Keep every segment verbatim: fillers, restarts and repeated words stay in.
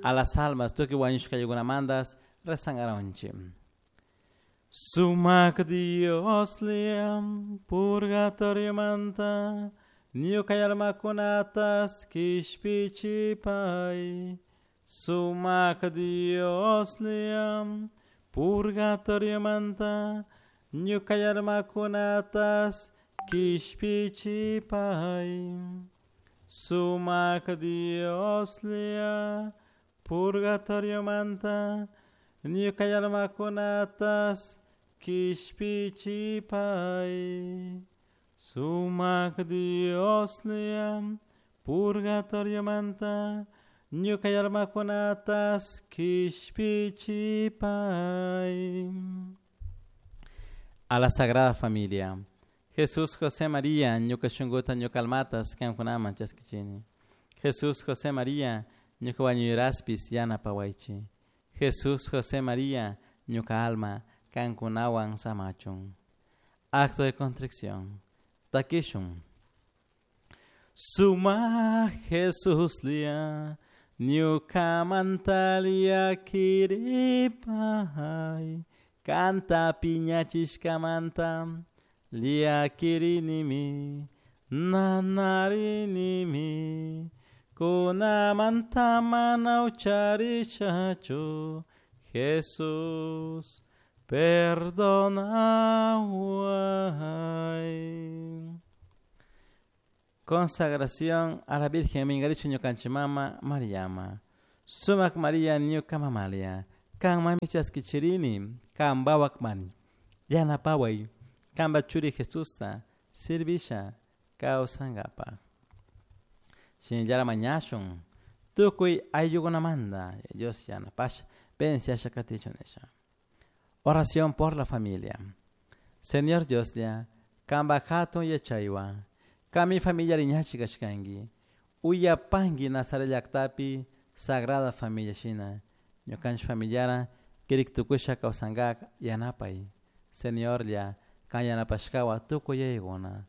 A las almas tukuy wañushkakunamantas rezangaraunchi. Sumak Dioslla purgatoriomanta ñuka almakunatas kishpichipay. Sumak Dioslla purgatoriomanta ñuka almakunatas kishpichipay. Sumak Dioslla purgatoriomanta ñuka almakunatas kishpichipay. Sumak Dioslla purgatoriomanta ñuka almakunatas kishpichipay. A la Sagrada Familia. Jesús, José, María, ñuka shunkuta, ñuka almatas, kankunaman chaskichini. Jesús, José, María, ñuka wañuyraspis yanapawaychi. Jesús, José, María, ñuka alma, kankunawan samachun. Acto de contrición. Takishun. Suma Jesuslla, ñukamanta llakiripay. Kanta piñachishkamanta llakirinimi, nanarinimi. Kunamanta mana ucharishachu, Jesús, perdonaway. Consagración a la Virgen Mingarichu ñukanchik mama Mariama. Sumak María ñuka mamalia. Kanmanmi chaskichirini, kanpa mani. Yanapaway, kanpa churi Jesusta, sirvisha, kawsankapa. Shinallara mañashun, tukuy ayllukunamanta, Dios yanapasha, bendiciasha katichun nisha. Oración por la familia. Señor Dioslla, kanpa hatun yachaywan, kanmi familia riñachi kashkanki, uyapanki Nazaret llaktapi Sagrada Familia shina, ñukanchik familiara kirik tukusha kawsankak yanapay. Señorlla, kan yanapashkawan tukuy yayakuna,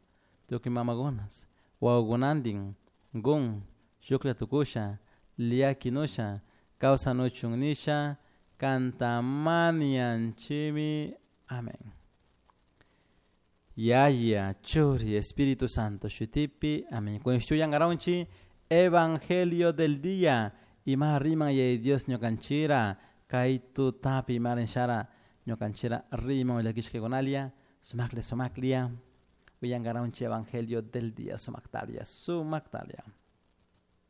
tukuy mamakunas, wawakunantin, gun, shuklla tukusha, llakinusha, kawsanuchun nisha, kanta mañanchimi. Amén. Yaya, Churi, Espíritu Santo, shutipi, amén. Kushtuyangaronchi, Evangelio del día. Ima riman yaya Dios ñukanchira, kay tutapi marinshara, ñukanchira riman llakishkakunalia, sumakle sumaklia. Uyangaronchi Evangelio del día, sumaktalia, sumaktalia.